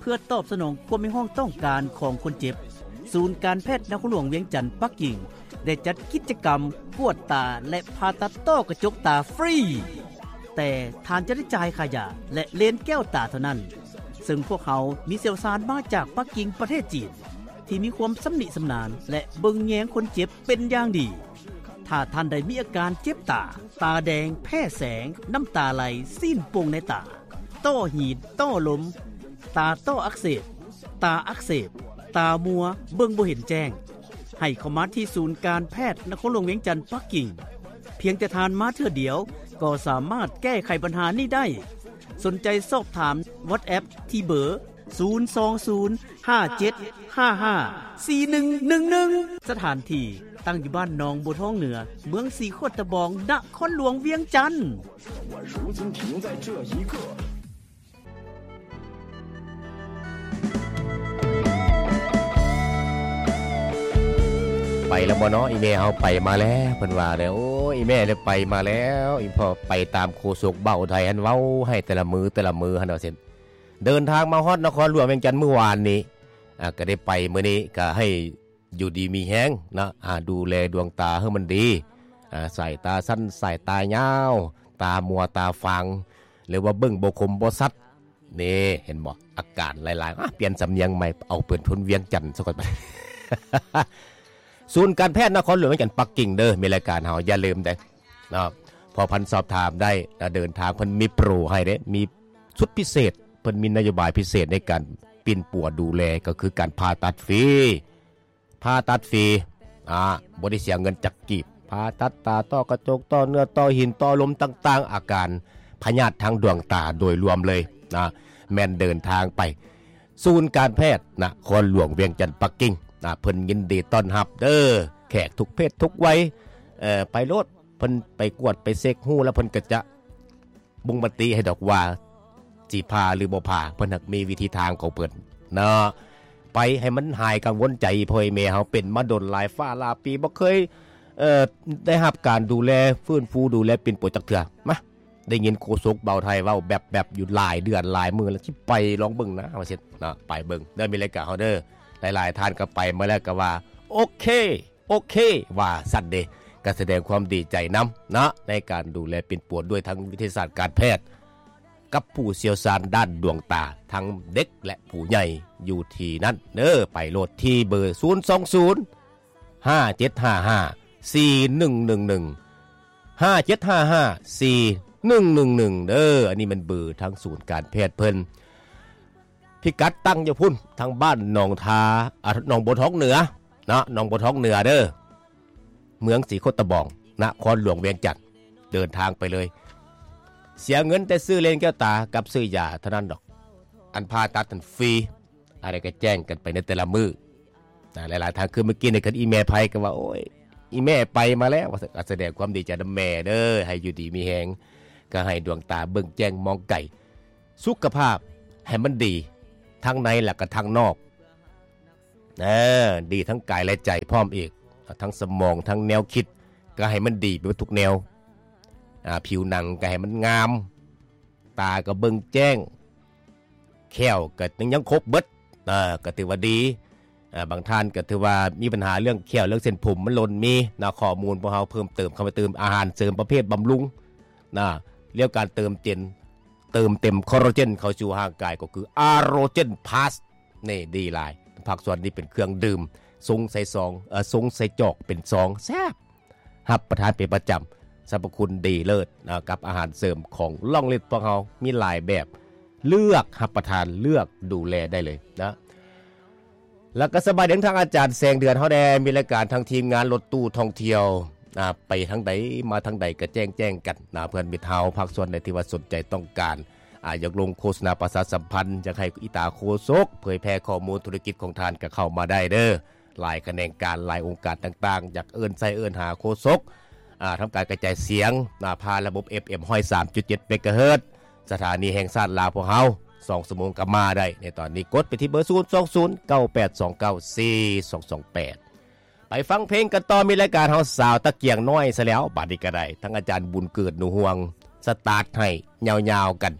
ພື່ອຕອບສະໜອງຄວາມຮຽກຮ້ອງຕ້ອງການຂອງຄົນເຈັບ, ສູນການແພດນະຄອນຫຼວງວຽງຈັນປັກກິ່ງ ໄດ້ຈັດກິດຈະກຳກວດຕາ ແລະ ຜ່າຕັດຕ້ອກະຈົກຕາຟຣີ. ແຕ່ທ່ານຈະໄດ້ຈ່າຍຄ່າຢາ ແລະ ເລນແກ້ວຕາເທົ່ານັ້ນ, ເຊິ່ງພວກເຮົາມີຊ່ຽວຊານມາຈາກປັກກິ່ງປະເທດຈີນ ທີ່ມີຄວາມຊຳນິຊຳນານ ແລະ ເບິ່ງແຍງຄົນເຈັບເປັນຢ່າງດີ. ຖ້າທ່ານໃດມີອາການເຈັບຕາ, ຕາແດງ, ແພ້ແສງ, ນ້ຳຕາໄຫຼ, ຊີ້ນໂປ່ງໃນຕາ, ຕ້ອຫີນ, ຕ້ອລົມ, ຕາຕ້ອອັກເສບ, ຕາອັກເສບ, ຕາມົວ, ເບິ່ງບໍ່ເຫັນແຈ້ງ, ໃຫ້ເຂົ້າມາທີ່ສູນການແພດນະຄອນຫຼວງວຽງຈັນປັກກິ່ງ. ພຽງແຕ່ທ່ານມາເທື່ອດຽວ ກໍສາມາດແກ້ໄຂບັນຫານີ້ໄດ້. ສົນໃຈສອບຖາມ WhatsApp ທີ່ເບີ ສູນສອງສູນ ຫ້າເຈັດຫ້າຫ້າ ສີ່ໜຶ່ງໜຶ່ງໜຶ່ງ. ສະຖານທີ່ຕັ້ງຢູ່ບ້ານໜອງບົວທອງເໜືອ, ເມືອງສີໂຄດຕະບອງ, ນະຄອນຫຼວງວຽງຈັນ. ໄປແລ້ວບໍ່ເນາະ? ອີ່ແມ່ເຮົາໄປມາແລ້ວ ເພິ່ນວ່າແລ້ວ. ໂອ້ ອີ່ແມ່ໄດ້ໄປມາແລ້ວ, ອີ່ພໍ່ໄປຕາມໂຄສົກເບົາໄທຫັ້ນ ເວົ້າໃຫ້ແຕ່ລະມື້ ແຕ່ລະມື້ຫັ້ນວ່າຊັ້ນ. ເດີນທາງມາຮອດນະຄອນຫຼວງວຽງຈັນມື້ວານນີ້ ອ່າ ກໍໄດ້ໄປ ມື້ນີ້ກໍໃຫ້ຢູ່ດີມີແຮງເນາະ, ອ່າ ດູແລດວງຕາໃຫ້ມັນດີ, ອ່າ ສາຍຕາສັ້ນ ສາຍຕາຍາວ, ຕາມົວຕາຟາງ ຫຼືວ່າເບິ່ງບໍ່ຄົມບໍ່ຊັດ. ນີ້ເຫັນບໍ່? ອາການຫຼາຍໆ. ອ່າ ປ່ຽນສຳນຽງໃໝ່ ເອົາເປັນຄົນວຽງຈັນຊະກ່ອນ. ສູນການແພດນະຄອນຫຼວງວຽງຈັນປັກກິ່ງເດີ, ມີລາຍການເຮົາ ຢ່າລືມເດີ. ເນາະ ພໍພັນສອບຖາມໄດ້ ແລະ ເດີນທາງເພິ່ນມີໂປຣໃຫ້ເດ້ ມີຊຸດພິເສດ, ເພິ່ນມີນະໂຍບາຍພິເສດໃນການປິ່ນປົວດູແລ ກໍຄືການຜ່າຕັດຟຣີ, ຜ່າຕັດຟຣີ ອ່າ ບໍ່ໄດ້ເສຍເງິນຈັກກີບ, ຜ່າຕັດຕາ, ຕ້ອກະຈົກ, ຕ້ອເນື້ອ, ຕ້ອຫີນ, ຕ້ອລົມຕ່າງໆ, ອາການພະຍາດທາງດວງຕາໂດຍລວມເລີຍນະ, ແມ່ນເດີນທາງໄປ ສູນການແພດນະຄອນຫຼວງວຽງຈັນປັກກິ່ງນະ, ເພິ່ນຍິນດີຕ້ອນຮັບເດີ ແຂກທຸກເພດທຸກໄວ. ເອີ ໄປໂລດ, ເພິ່ນໄປກວດໄປເຊັກຮູ້ແລ້ວ ເພິ່ນກໍຈະບົ່ງມະຕິໃຫ້ດອກວ່າຊິຜ່າຫຼືບໍ່ຜ່າ, ເພິ່ນຫາກມີວິທີທາງຂອງເພິ່ນເນາະ. ໄປໃຫ້ມັນຫາຍກັງວົນໃຈ, ພໍ່ແມ່ເຮົາເປັນມາດົນຫຼາຍຟ້າຫຼາຍປີ ບໍ່ເຄີຍ ເອີ ໄດ້ຮັບການດູແລ ຟື້ນຟູດູແລປິ່ນປົວຈັກເທື່ອ. ມາ ໄດ້ຍິນໂຄສົກເບົາໄທເວົ້າແບບໆຢູ່ຫຼາຍເດືອນຫຼາຍມື້ແລ້ວ, ຊິໄປລອງເບິ່ງນະ ວ່າຊັ້ນເນາະ. ໄປເບິ່ງເດີ ມີລາຍການເຮົາເດີ, ຫຼາຍໆທ່ານກໍໄປມາແລ້ວກໍວ່າ ໂອເຄ ໂອເຄ ວ່າຊັ້ນເດ. ກໍສະແດງຄວາມດີໃຈນຳເນາະ ໃນການດູແລປິ່ນປົວດ້ວຍທາງວິທະຍາສາດການແພດ ກັບຜູ້ຊ່ຽວຊານດ້ານດວງຕາ ທັງເດັກ ແລະ ຜູ້ໃຫຍ່ ຢູ່ທີ່ນັ້ນເດີ. ໄປໂລດທີ່ເບີ ສູນສອງສູນ ຫ້າເຈັດຫ້າຫ້າ ສີ່ໜຶ່ງໜຶ່ງໜຶ່ງ ຫ້າເຈັດຫ້າຫ້າ ສີ່ໜຶ່ງໜຶ່ງໜຶ່ງ ເດີ. ອັນນີ້ແມ່ນເບີທາງສູນການແພດເພິ່ນ. ພິກັດຕັ້ງຢູ່ພຸ້ນ ທາງບ້ານໜອງທາ ອາ ໜອງບົວທອງເໜືອເນາະ, ໜອງບົວທອງເໜືອເດີ ເມືອງສີໂຄດຕະບອງ ນະຄອນຫຼວງວຽງຈັນ. ເດີນທາງໄປເລີຍ, ເສຍເງິນແຕ່ຊື້ເລນແກ້ວຕາກັບຊື້ຢາເທົ່ານັ້ນດອກ, ອັນຜ່າຕັດນັ້ນຟຣີ. ອາ ໄດ້ກະແຈ້ງກັນໄປໃນແຕ່ລະມື້ນະ. ຫຼາຍໆທ່ານ ຄືມື້ກີ້ນີ້ ຄັນອີ່ແມ່ໄພກໍວ່າ ໂອ້ຍ ອີ່ແມ່ໄປມາແລ້ວ ວ່າຊັ້ນ. ກະສະແດງຄວາມດີໃຈນຳແມ່ເດີ, ໃຫ້ຢູ່ດີມີແຮງ, ກະໃຫ້ດວງຕາເບິ່ງແຈ້ງມອງໄກ, ສຸຂະພາບໃຫ້ມັນດີ ທັງໃນ ແລະ ກະທັງນອກ. ເອີ ດີທັງກາຍ ແລະ ໃຈພ້ອມອີກ, ທັງສະໝອງ ທັງແນວຄິດ ກະໃຫ້ມັນດີໄປເບິດທຸກແນວ. ອາ ຜິວໜັງກະໃຫ້ມັນງາມ, ຕາກໍເບິ່ງແຈ້ງ, ແຂ້ວກໍຍັງ ຍັງຄົບເບິດ, ເອີ ກໍຖືວ່າດີ. ອາ ບາງທ່ານກໍຖືວ່າມີບັນຫາເລື່ອງແຂ້ວ ເລື່ອງເສັ້ນຜົມມັນຫຼົ່ນ, ມີນະ ຂໍ້ມູນພວກເຮົາເພີ່ມເຕີມເຂົ້າໄປຕື່ມ, ອາຫານເສີມປະເພດບຳລຸງນະ, ເລື່ອງການເຕີມເຕັມ ເຕີມເຕັມຄໍລາເຈນເຂົ້າສູ່ຮ່າງກາຍ ກໍຄືອາໂຣເຈນພລັສ ນີ້ດີຫຼາຍ. ພາກສ່ວນນີ້ເປັນເຄື່ອງດື່ມ ຊົງໃສ່ຊອງ ເອີ ຊົງໃສ່ຈອກເປັນຊອງ ແຊບ. ຮັບປະທານເປັນປະຈຳ, ສັບພະຄຸນດີເລີດນະ ກັບອາຫານເສີມຂອງລ່ອງລິດພວກເຮົາ ມີຫຼາຍແບບ, ເລືອກຮັບປະທານ ເລືອກດູແລໄດ້ເລີຍນະ. ແລ້ວກໍສະບາຍດີທາງອາຈານແສງເດືອນເຮົາແດ່, ມີລາຍການທາງທີມງານລົດຕູ້ທ່ອງທ່ຽວນະ, ໄປທາງໃດມາທາງໃດກໍແຈ້ງ ແຈ້ງກັນນະ. ເພື່ອນມິດເຮົາ ພາກສ່ວນໃດທີ່ວ່າສົນໃຈຕ້ອງການ ອາ ຢາກລົງໂຄສະນາປະຊາສຳພັນ, ຢາກໃຫ້ອີຕາໂຄສົກເຜີຍແຜ່ຂໍ້ມູນທຸລະກິດຂອງທ່ານ ກໍເຂົ້າມາໄດ້ເດີ. ຫຼາຍຂະແໜງການ ຫຼາຍອົງການຕ່າງໆ ຢາກເອີ້ນໃສ່ເອີ້ນຫາໂຄສົກ ອາ ທຳການກະຈາຍສຽງນະ ຜ່ານລະບົບ ເອັຟເອັມ ຮ້ອຍສາມຈຸດເຈັດ ເມກາເຮີດ. ສະຖານີແຫ່ງຊາດລາວພວກເຮົາ ສອງຊົ່ວໂມງກໍມາໄດ້ໃນຕອນນີ້. ກົດໄປທີ່ເບີ ສູນສອງສູນ ເກົ້າແປດສອງເກົ້າ ສີ່ສອງສອງແປດ. ໄປຟັງເພງກັນຕໍ່, ມີລາຍການເຮົາສາວຕະກຽງນ້ອຍຊະແລ້ວ. ບາດນີ້ກໍໄດ້ ທັງອາຈານບຸນເກີດ ໜູຮວງ ສະຕາດໃຫ້ຍາວໆກັນ.